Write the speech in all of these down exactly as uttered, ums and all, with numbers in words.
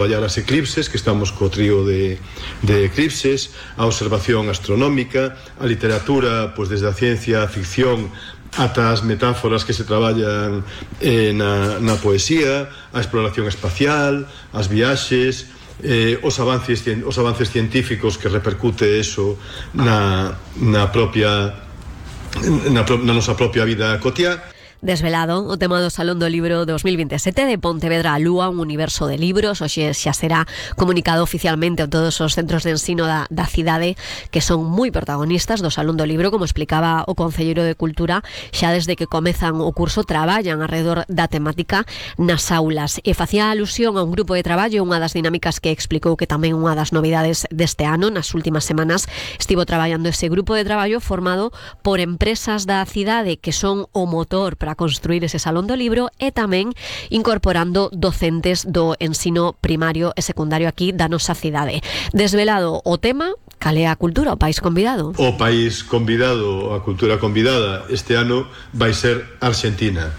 traballar as eclipses, que estamos co trío de, de eclipses, a observación astronómica, a literatura, pois desde a ciencia, a ficción, ata as metáforas que se traballan eh, na, na poesía, a exploración espacial, as viaxes, eh, os avances os avances científicos que repercute eso na, na propia na, na nosa propia vida cotiá. Desvelado o tema do Salón do Libro dos mil veintisiete de Pontevedra a Lúa, un universo de libros. Hoxe xa será comunicado oficialmente a todos os centros de ensino da, da cidade, que son moi protagonistas do Salón do Libro, como explicaba o Concelleiro de Cultura. Xa desde que comezan o curso traballan alrededor da temática nas aulas, e facía alusión a un grupo de traballo, unha das dinámicas que explicou que tamén unha das novidades deste ano. Nas últimas semanas estivo traballando ese grupo de traballo formado por empresas da cidade que son o motor para a construir ese Salón do Libro, e tamén incorporando docentes do ensino primario e secundario aquí da nosa cidade. Desvelado o tema, cal é a cultura, o país convidado? O país convidado, a cultura convidada este ano vai ser Argentina,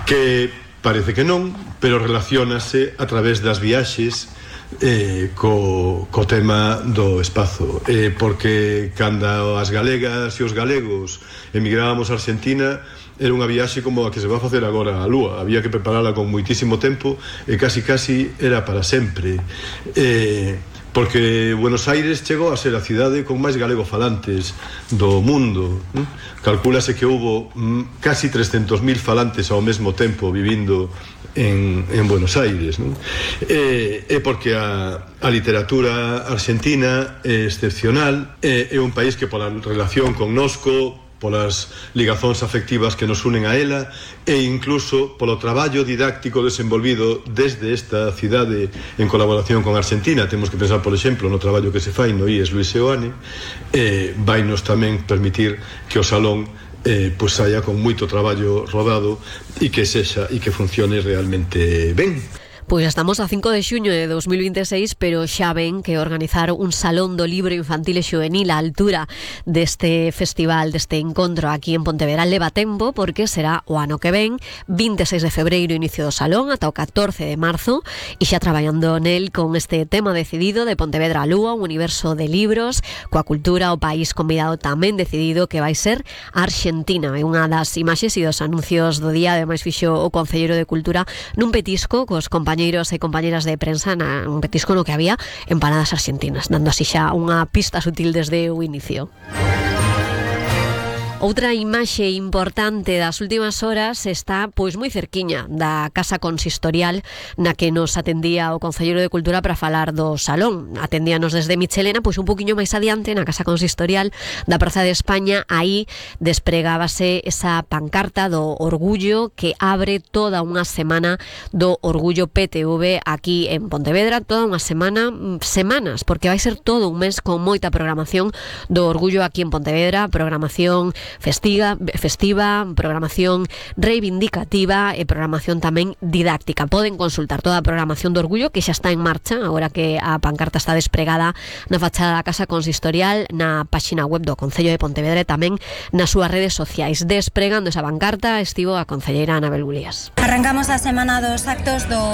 que parece que non, pero relaciónase a través das viaxes eh, co, co tema do espazo, eh, porque cando as galegas e os galegos emigrábamos a Argentina, era unha viaxe como a que se va a facer agora a Lúa. Había que preparala con moitísimo tempo e casi casi era para sempre, eh, porque Buenos Aires chegou a ser a cidade con máis galegofalantes do mundo. Calcúlase que houbo mm, casi trescentos mil falantes ao mesmo tempo vivindo en, en Buenos Aires, non? E, e porque a, a literatura argentina é excepcional, é, é un país que pola relación connosco, polas ligazóns afectivas que nos unen a ela, e incluso polo traballo didáctico desenvolvido desde esta cidade en colaboración con Argentina. Temos que pensar, por exemplo, no traballo que se fai no I E S Luis Seoane, eh, vai nos tamén permitir que o Salón eh, pues saia con moito traballo rodado e que sexa e que funcione realmente ben. Pois estamos a cinco de xuño de dos mil veintiséis, pero xa ven que organizar un Salón do Libro Infantil e Xuvenil á altura deste festival, deste encontro aquí en Pontevedra, leva tempo, porque será o ano que ven, vinte e seis de febreiro, inicio do Salón, ata o catorce de marzo, e xa traballando nel con este tema decidido de Pontevedra a Lúa, un universo de libros, coa cultura, o país convidado tamén decidido, que vai ser Argentina. É unha das imaxes e dos anuncios do día, ademais fixo o Concelleiro de Cultura nun petisco cos compañeros compañeiros e compañeras de prensa, na, un petisco no que había empanadas argentinas, dando así xa unha pista sutil desde o inicio. Outra imaxe importante das últimas horas está pois moi cerquiña da Casa Consistorial, na que nos atendía o Concelleiro de Cultura para falar do Salón. Atendíanos desde Michelena, pois un poquinho máis adiante, na Casa Consistorial da Praza de España. Aí despregábase esa pancarta do orgullo que abre toda unha semana do Orgullo P T V aquí en Pontevedra, toda unha semana, semanas, porque vai ser todo un mes con moita programación do orgullo aquí en Pontevedra, programación festiva, festiva, programación reivindicativa e programación tamén didáctica. Poden consultar toda a programación do orgullo, que xa está en marcha, agora que a pancarta está despregada na fachada da Casa Consistorial, na páxina web do Concello de Pontevedra e tamén nas súas redes sociais. Despregando esa pancarta estivo a concelleira Anabel Bulías. Arrancamos a semana dos actos do,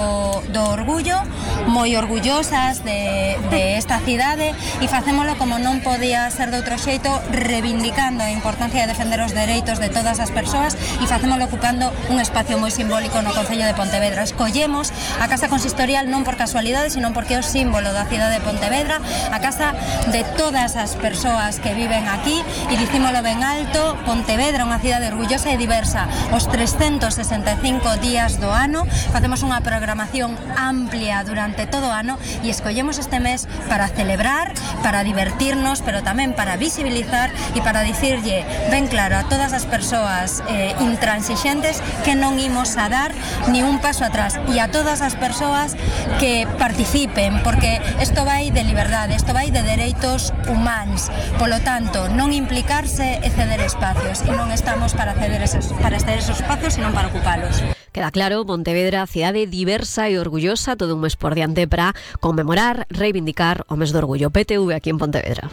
do orgullo, moi orgullosas de, de esta cidade, e facémolo como non podía ser de outro xeito, reivindicando a importancia de defender os dereitos de todas as persoas, e facémolo ocupando un espacio moi simbólico no Concello de Pontevedra. Escollemos a Casa Consistorial non por casualidade, sino porque é o símbolo da cidade de Pontevedra, a casa de todas as persoas que viven aquí, e dicímolo ben alto: Pontevedra é unha cidade orgullosa e diversa. Os trescentos sesenta e cinco días do ano facemos unha programación amplia durante todo o ano, e escollemos este mes para celebrar, para divertirnos, pero tamén para visibilizar e para dicirlle ben claro a todas as persoas eh, intransixentes que non imos a dar ni un paso atrás, e a todas as persoas que participen, porque isto vai de liberdade, isto vai de dereitos humanos. Polo tanto, non implicarse e ceder espacios, e non estamos para ceder esos, para ceder esos espacios, senón para ocupalos. Queda claro, Pontevedra, cidade diversa e orgullosa, todo un mes por diante para conmemorar, reivindicar o mes do orgullo P T V aquí en Pontevedra.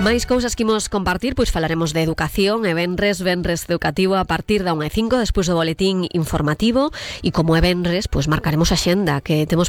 Máis cousas que imos compartir, pois falaremos de educación e venres, venres educativo a partir da unha e cinco, despois do boletín informativo, e como é venres, pois marcaremos a xenda que temos por